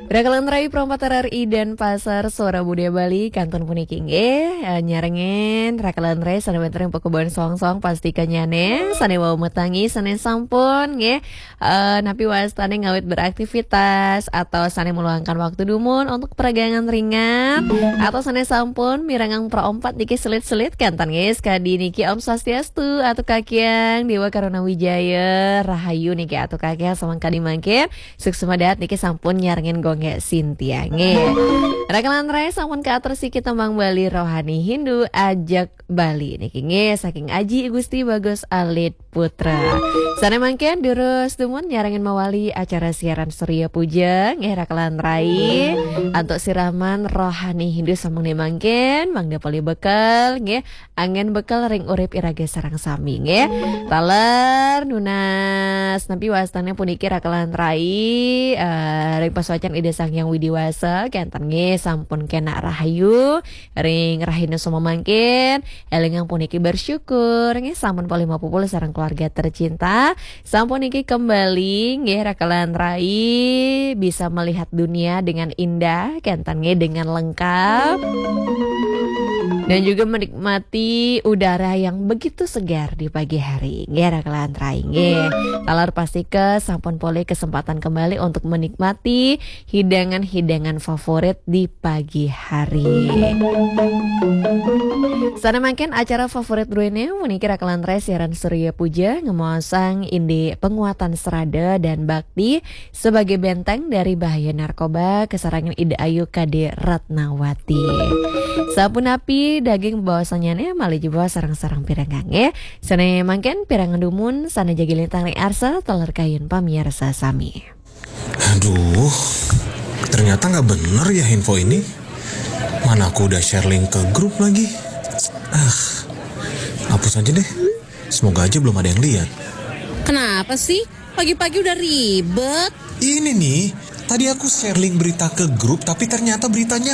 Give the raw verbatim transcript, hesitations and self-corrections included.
Rakalan rai Pro empat R R I Denpasar, Suara Budaya Bali, kantun puniki nggih, eh, nyarengin rakalan rai sané wénten ring pakubuhan soang-soang, pastika nyané sané wau matangi, sané sampun nggih, eh, napi wastané ngawit beraktivitas atau sané meluangkan waktu dumun untuk peregangan ringan atau sané sampun mirengang Pro empat niki selit-selit kantun nggih, sakadi niki Om Swastiastu, Atu Kakiang, Dewa Karuna Wijaya, Rahayu niki Atu Kakiang, samangkadi mangkin Suksma dahat niki sampun nyarengin Gung Sintia nggih. Rakalan rai sampun kaatur siki tembang Bali rohani Hindu ajak Bali niki nggih saking Aji Gusti Bagus Alit Putra. Sané mangkin durus dumun nyarengin mawali acara siaran Surya Puja nggih rakalan rai. Antuk siraman rohani Hindu sampun mangkin mangda polih bekel nggih, anggén bekel ring urip iraga sareng sami nggih. Taler nunas napi wastané puniki rakalan rai, eh, ring pasuécan Ida Sang Hyang Widi Wasa, kénten nggih sampun kénak rahayu ring rahina samangkin, élingang puniki bersyukur nggih sampun polih mapupul sareng keluarga tercinta. Sampun niki kembali nggih rakalan rai, bisa melihat dunia dengan indah, kénten nggih dengan lengkap. Dan juga menikmati udara yang begitu segar di pagi hari. Nggih rakalan rai nggih. Taler pastika sampun polih kesempatan kembali untuk menikmati hidangan-hidangan favorit di pagi hari. Sané mangkin acara favorit druéné puniki rakalan rai siaran Surya Puja ngemaosang indik penguatan serada dan bakti sebagai benteng dari bahaya narkoba, kasarengin Ida Ayu Kade Ratnawati. Sapunapi daging bebaosanyané malih jebos sareng-sareng pirengang nggih. Sané mangkin pirengang dumun sané jagi lintang ring arsa taler kayun pamiarsa sami. Aduh, ternyata nggak bener ya info ini. Mana aku udah share link ke grup lagi. Ah, hapus aja deh. Semoga aja belum ada yang lihat. Kenapa sih? Pagi-pagi udah ribet. Ini nih, tadi aku share link berita ke grup, tapi ternyata beritanya